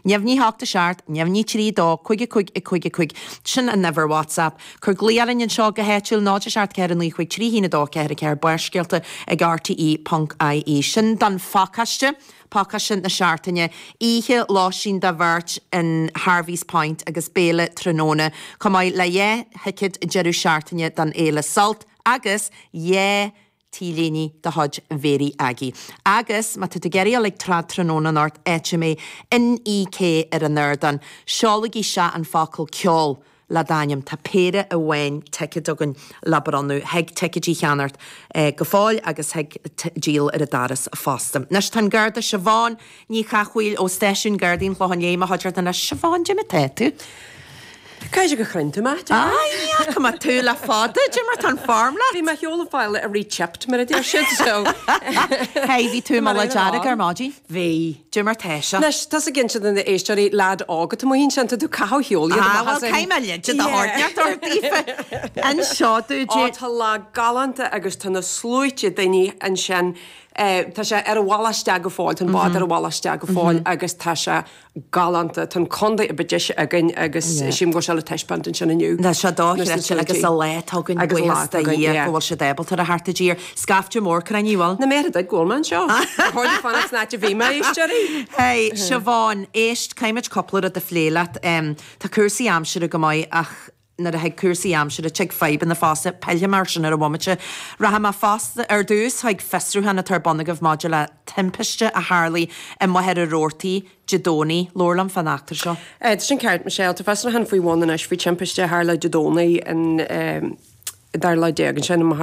Neamhní 8 7, neamhní 3 2, 5 5 5 5, sin an uimhir WhatsApp. Cuir glaoch orainn anseo go háitiúil, 0 7 4 9 5 3 1 2 4 4, Barrscéalta ag rte.ie. Sin don phacáiste, pacáiste na seachtaine, oíche lóistín do bheirt in Harvey's Point agus béile tráthnóna, chomh maith le 2 thicéad deireadh seachtaine don Fhéile Sult agus 2 T-léine de chuid Mhéirí Aggie. Agus má tá tú ag iarraidh a dhul ag trad tráthnóna anocht, áit a mbeidh NEK ar an ardán, seolaigí isteach an focal ceol le d'ainm. Tá péire amháin ticéad againn le bronnadh. Thig ticéidí a cheannacht go fóill agus thig díol ar an doras fosta. Anois tá an Garda Siobhán Ní Chathmhaoil ó Stáisiún Gardaí an Chlocháin Léith i mo chuideachta anois. Siobhán, cad é mar tá tú? Caithfidh go chruinn tú mé, dear. Aye, ní fhaca mé tú le fada, cad é mar tá an form leat. Bhí mé ar shiúl ag fáil a re-chipped, mar a deir siad, so. Hey, bhí tú i Mullach Dearg ar maidin? Bhí. Cad é mar tá sé? Anois, tusa ag inse do na éisteoirí, leaid óg atá amuigh ansin, tá tú ag caitheamh shiúl iad amach as an. Ah, bhuel, caithfidh mé leide do thabhairt ort daofa. Anseo dúinn. Ó, tá lá galánta agus tá na sluaite daoine ansin. Tá sé ar a bhealach isteach go fóill, tá an bád ar a bhealach isteach go fóill agus tá sé galánta. Tá an contae a ba deise againn agus sílim go bhfuil sé le taispeáint ansin inniu. Tá sé dochreidte agus an lá atá againn, buíochas do Dhia go bhfuil siad ábalta a theacht i dtír. Scaifte mór cruinnithe, bhfuil? Na méara duit go bhfuil mé anseo. Ba chóir duit fanacht san áit a bhí mé, éisteoirí. Hey, Siobhán, éist, caithfimid cúpla rud a phlé leat. Tá cúrsaí aimsire go maith ach nuair a thig cúrsaí aimsire, tig fadhbanna fosta. Pillfidh mé air sin ar an bhomaite. Rachaidh mé fosta ar dtús chuig fiosrúchán atá ar bun agaibh maidir le timpiste a tharlaigh i Machaire Rabhartaigh Dé Domhnaigh. Labhair liom fán eachtra seo. Tá sin ceart, Michelle. Tá fiosrúchán faoi bhun anois faoi timpiste a tharla Dé Domhnaigh an 12 lá ansin i Machaire.